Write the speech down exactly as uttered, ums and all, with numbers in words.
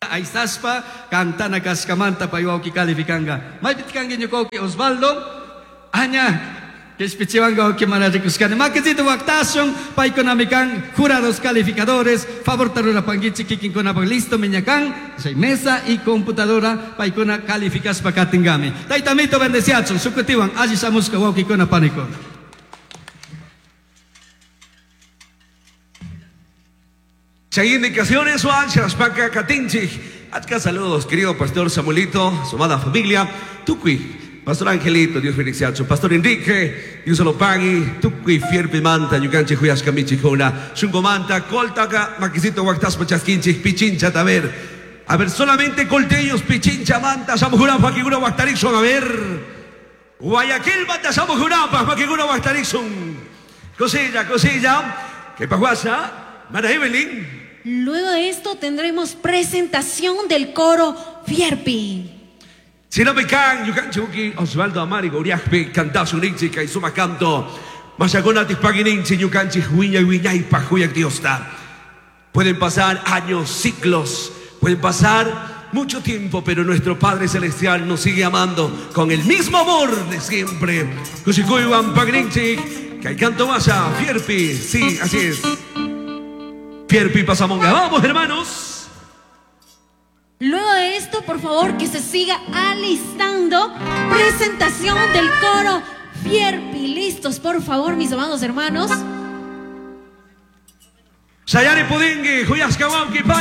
makita aysashpa kantana kashkamanta pay wawki kalifikanga. Maypiti kanki ñuka wawki Osvaldo? Aña Kishpichiwanka wawki mana rikushkani. Makisito waqtashun, paykunami kan jurados calificadores, favorta rurapankichik kikinkunapak listo miña kan, chay mesa y computadora paykuna calificashpa katingami. Tayta Amito bendeciachun, shukutiwan alli shamushka wawkikuna panikuna. Chay indicaciones Juan Katinchik. Achka saludos, querido pastor Samuelito, su amada familia, Tukui, Pastor Angelito, Dios bendice. Pastor Enrique, Dios lo pague, Tukui, Fierpi Manta, Yukanchi, Huyashka, Michijona, Shungo Manta, Coltaca, Maquisito, Huactaspa, Chasquinchi, Pichincha, a ver. A ver, solamente colteños, Pichincha, Manta, Samujura, Paquigura, Huactarixon, a ver. Guayaquil, Manta, Samujura, Paquigura, Huactarixon. Cosilla, cosilla. ¿Qué pasó? Mana Evelyn. Luego de esto tendremos presentación del coro Fierpi. Si no me can, yukanchi uki, Osvaldo Amari, Goriajpe, cantasu ninchi, kaisuma canto. Masakuna tispagininchi, yukanchi, huiña, huiña, pajuya, Diosta. Pueden pasar años, ciclos, pueden pasar mucho tiempo, pero nuestro Padre Celestial nos sigue amando con el mismo amor de siempre. Kushikuywan pagninchi, que canto masa, Fierpi, sí, así es. Fierpi Pasamonga. Vamos, hermanos. Luego de esto, por favor, que se siga alistando. Presentación del coro Fierpi. Listos, por favor, mis amados hermanos. Sayari Pudingui, Huyasca Wauki, Pani.